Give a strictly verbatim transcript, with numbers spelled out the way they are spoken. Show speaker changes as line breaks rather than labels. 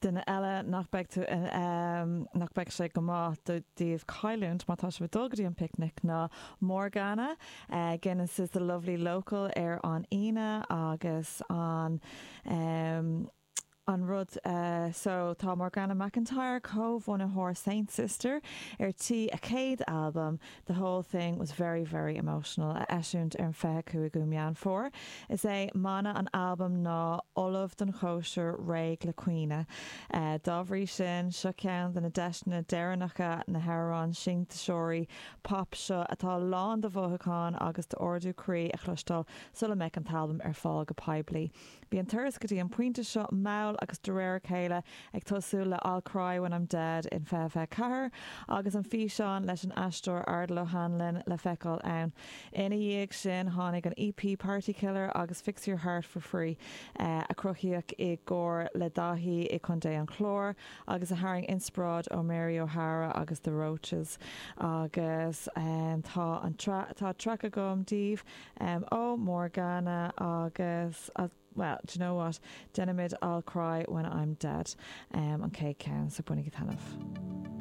Duine eile nach beidh tú um, nach beidh sé go maith daoibh cailliúint má tá sibh ag dul go dtí an picnic ná Morgana uh, Guinness is the lovely local ar an Aoine agus an um, an rud uh, so tá Morgana McIntyre comhbhunaitheoir Saint Sister ar tí a céad album The whole thing was very very emotional a eisiúint ar an fiche cúigiú Meán Fómhair. Is é mana an album ná ullamh don chóisir réidh le caoineadh. Uh, dá bhrí sin seo ceann de na deiseanna deireanacha na hamhráin sintéiseoirí pop seo atá lán de mhothúcháin agus d'ardú croí a chloisteáil sula mbeidh an t-albam ar fáil go poiblí. Bhí an turas go dtí an pointe seo mall agus de réir a chéile ag tosú le I'll Cry When I'm Dead in fiche fiche ceathair agus an físeán leis an aisteoir Ardal O'Hanlon le feiceáil ann. Ina dhiaidh sin tháinig an EP Party Killer agus Fix Your Heart for Free uh, a cruthaíodh i gcomhar le Daithí i Contae an Chláir agus a tharraing inspioráid ó Mary O'Hara agus the Roches agus um, tá an tá track agam daoibh um, ó Morgana agus uh, well, do you know what? Déanaimid I'll cry when I'm dead um, an chéad cheann so bainigí taitneamh.